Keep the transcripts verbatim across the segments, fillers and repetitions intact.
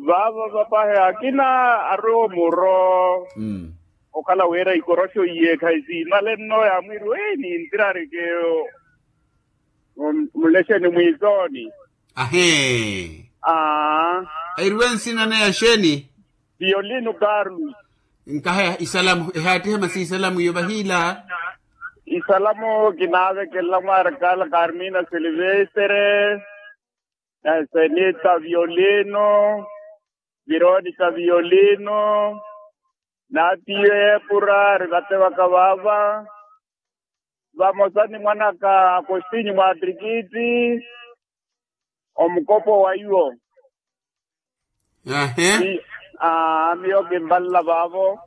Vaavo vapahi akina arwe omuro. Okhala wira ikoroxo iye khayi siimale nno yaamwiiriwa eyi nintirarike. Mulexeni mwiisooni. Ahee. Aa. Eriwe nsina neya xeeni? Violino carlos. Nkaha isalamu ehaattihe masi isalamu iyo vahiila. Isalamu kinaavekelela mwaarakaala carmina silvestre, senita violino, vironica violino, n'atiyo eepura ari vatevaka vaava, vamosa ni mwanaka akostinyu mwatirikiti, omukopo wa iwo. Ahe. Aa miyo kimvalela vaavo.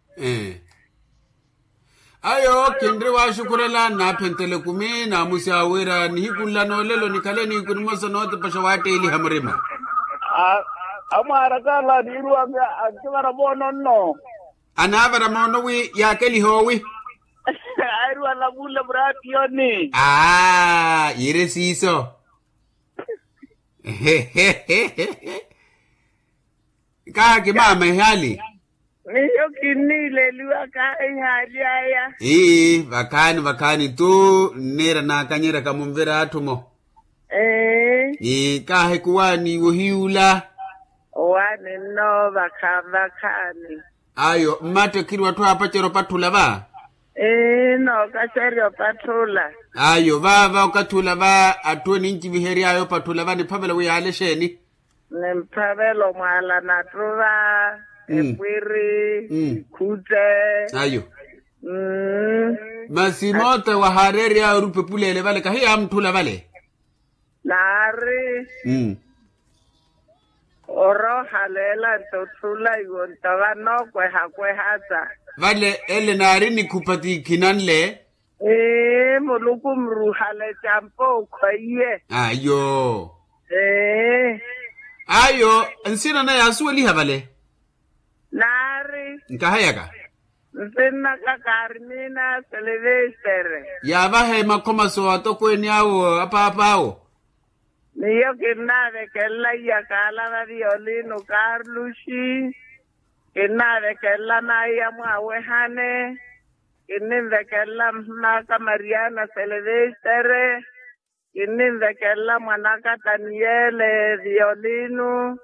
Ayo kinri waxukhurela naaphentele ekumi naamusya wira nihiku nla noolelo nikhale nihiku nimosa nootepaxa waatteeliha murima. Amwaarakaala niiruwaka akivara moono nno. Anaavara moono wi yaakeliha owi. Airiwa namuula muraatiyoni. Aa yiire siiso. Kaaki maama ehaali. Miyo kinniileliwaka ehaali aya. Ii vakhaani vakhaani tu nniira naakanyerya kamunvira atthu mo. Ii kaahikuwaani wohiyuula. Owaani nno vakhaani vakhaani. Ayo mmattekhiri watthu aapacerya opatthula va. Ii nookacerya opatthula. Ayo vaava okathi ula va atthu enincivihery'aya opatthula va niphavela wi yaale exeeni? Nimphavela omwaala nattuva, epwiri, ikhutte. Ayo. Masi moote wahaareery'aya orupa epuleele vale kahi yaamutthula vale. Naari oroohaleela nto otthula iwo nto vanookwehakwehasa. Vale ele naari nikhupa ti khinanle. Ee muluku muruhale campo okhwaiye. Ayo. Ee. Ayo nsina naye yaasuweliha vale. Naari nkaheyaka. Nsinnaka karmina silvestere. Yaavahe makhomaso atokweeni awo apaap'awo. Miyo kinnaavekelela iyakaala va violino karluxi. Kinnaavekelela naiya mwaawehane. Kinninvekelela mhim'aka mariana silvestere. Kinninvekelela mwan'aka taniyele violino,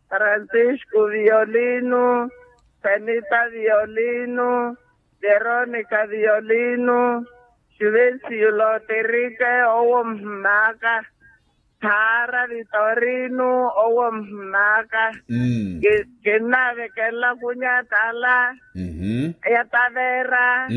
francisco violino, senita violino, veronica violino, juvencio loterike owo mhim'aka. Thaara vitorino owo mhim'aka. Kinnaavekelela kunyatala ya tavera.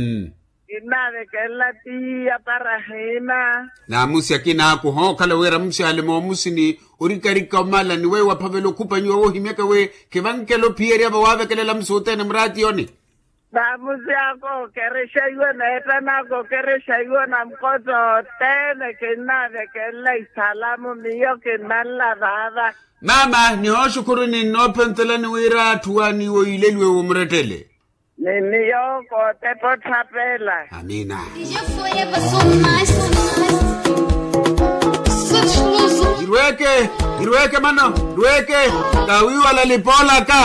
Kinnaavekelela tiya parahima. Naamusi akina aku hookhala wira muxaale moomusini orikarika omala ni weyo waphavela okhupanyiwa woohimyaka wi khivankela ophiyerya vawaavekelela musi othene muraatiyoni. Naamusi ako okerexa iwo neettan'aka okerexa iwo na mukotto othene kinnaavekelela isalamu miyo kinnanla vaava. Maama nihooxukhuruni nnoophentelani wira atthu waaniiwo yiileliwe wo murettele. Ni miyo kootepa otthapela. Amiina. Irweeke, irweeke mano irweeke. Kawiiwala lipoolaka.